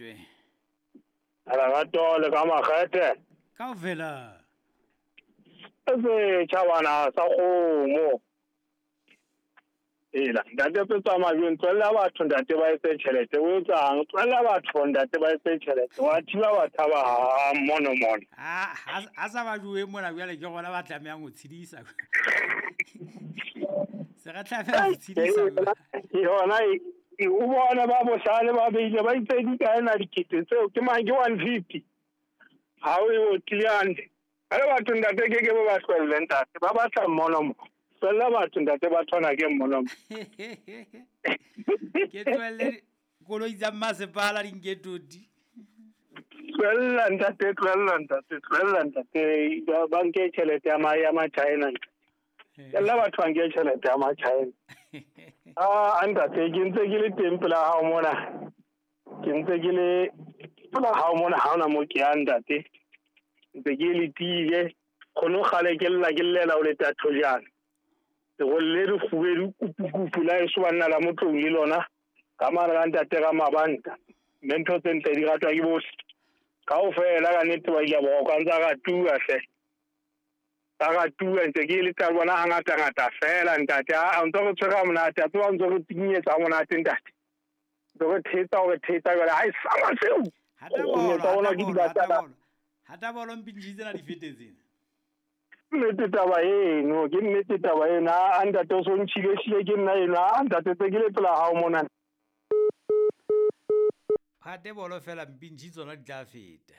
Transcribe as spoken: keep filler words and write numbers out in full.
Fetwe. Lerato le ka makgethe. Kaofela. Se tjhabana sa kgomo. Ela, ntate Petsa Majweng, tswella batho ntate ba etse tjhelete. O etsang? Tswella batho ntate ba etse tjhelete. Wa thiba batho ba ha mono mono. Ah, ha sa ba jowe mona jwale ke gona ba tlamehang ho tshedisa. Se re tlameha ho tshedisa. Yona e o bona ba bohlale ba beile ba itse di kae na dikete tseo ke mang ke one fifty. Ha o e otlile. Are batho ntate ke ke ba hlwelle ntate ba batla mmono mo. Tswella batho ntate ba thona ke mmono mo. Ke tswelle koloi tsa masepala di nke toti. Tswella ntate, tswella ntate, tswella ntate ba nke tjhelete ya ma ya ma China. Tswella batho ba nke tjhelete ya ma China. Ah ntate ke ntse ke le teng pela hao mona. Ke ntse ke le pela hao mona ha ona mo ke ya ntate. Ntse ke le tile khono kgale ke lla ke llela o le tatho jana. Go le re fubedu kupu la eso banna la motlong le lona ka mara ka ntate ka mabanta mme ntho tse ntle di ratwa ke bohle kaofela ka nnete ba ile ba ka ntsa ka tua hle ka ka tua ntse ke le tla bona hangata ngata fela ntate a ntse re tshwara monate a tswa ntse re tinyetsa monate ntate ntse re thetsa o re thetsa jwale ha e sama seo hata bolo hata bolo mpintshi tsena di fetetseng. Nnete taba eno ke nnete taba eno a ntate o so ntshile hlile ke nna eno a ntate tse ke le pela hao mona. Hate bolo fela mpintshi tsona di tla feta.